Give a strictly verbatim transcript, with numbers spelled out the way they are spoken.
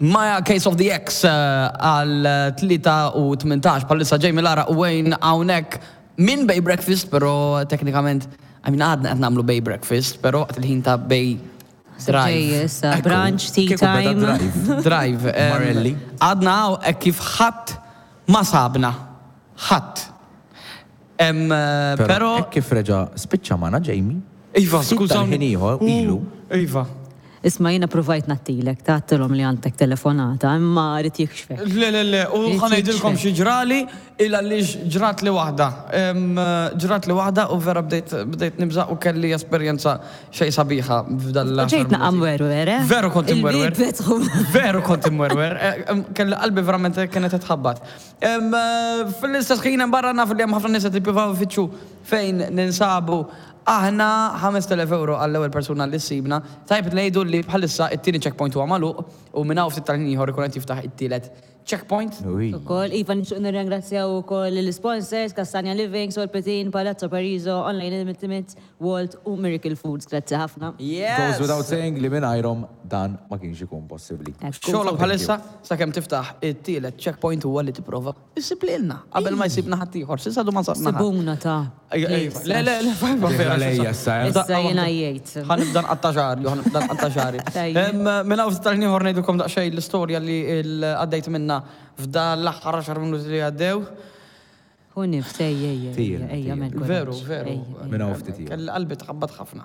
Maja Case of the X eh, għal tlieta u tmintax bħalissa Jamie Lara u Wayne hawnhekk minn Bay Breakfast, però teknikament, I mean, għadna qed nagħmlu Bay Breakfast, però għat il-ħin ta' Bay Drive. Ġej, issa, brunch, tea Kieku beda time. Drive. Drive. em, Marelli. Għadna hawn hekk kif ħadd ma sabna. Ħadd. Em, eh, Però hekk kif reġa' spiċċa magħna Jamie. Iva, ftit skużawni. tal-ħin ieħor ilu. Iva. Isma', jiena provajt nattilek, tgħattilhom li għandek telefonata, imma rrid jikxfek. Le, le, le, u Irid ħa ngħidilkom jikxfek. xi ġrali, illa li ġrat li waħda. Em, Ġrat li waħda u vera bdejt bdejt nibża u kelli esperjenza xej sabiħa f'dal. Ġejt naqam werwer, eh? Veru kont imwerwer. Il-bib fetħu. Veru kont imwerwer. Eh, em, Kelli qalbi verament kienet tħabbat. Em, eh, Fil-istess ħin hemm barra naf li hemm ħafna nies qed jippruvaw ifittxu fejn ninsabu. Aħna ħamest elef euro għall-ewwel persuna li ssibna. Tajb ngħidu li bħalissa it-tieni checkpoint huwa magħluq u minn hawn ftit tal-ħin ieħor ikun qed jiftaħ it-tielet checkpoint. Ui. Ukoll, Iva, nixtieq nirringrazzjaw ukoll l-sponsors, Castagna Living, Sol Petin, Palazzo Pariso, Online Ultimate, Walt u Miracle Foods. Grazzi ħafna. Yes! Goes without saying li mingħajrhom dan ma kienx ikun possibbli. Ekku. Xogħolok bħalissa sakemm tiftaħ it-tielet checkpoint huwa li tipprova issib lilna qabel ma jsibna ħadd ieħor. S'issa du ma sabna ħadd. Sibuna ta' Ejja, ejja. Le, le, le, fajba vera. Lejja issa, eh. Issa jiena jgħid. Ħa nibda nqatta' xagħri, ħa nibda nqatta' xagħri. Tajjeb. Em, Minn hawn tal ieħor ngħidulkom daqsxejn l-istorja li l- għaddejt minna f'dan l-aħħar għaxar minuti li għaddew. Hu nifs, ejja, ejja, Tir, ejja, tir. ejja, mel Veru, veru. Minn hawn ftit ieħor. Kelli qalbi tħabbat ħafna.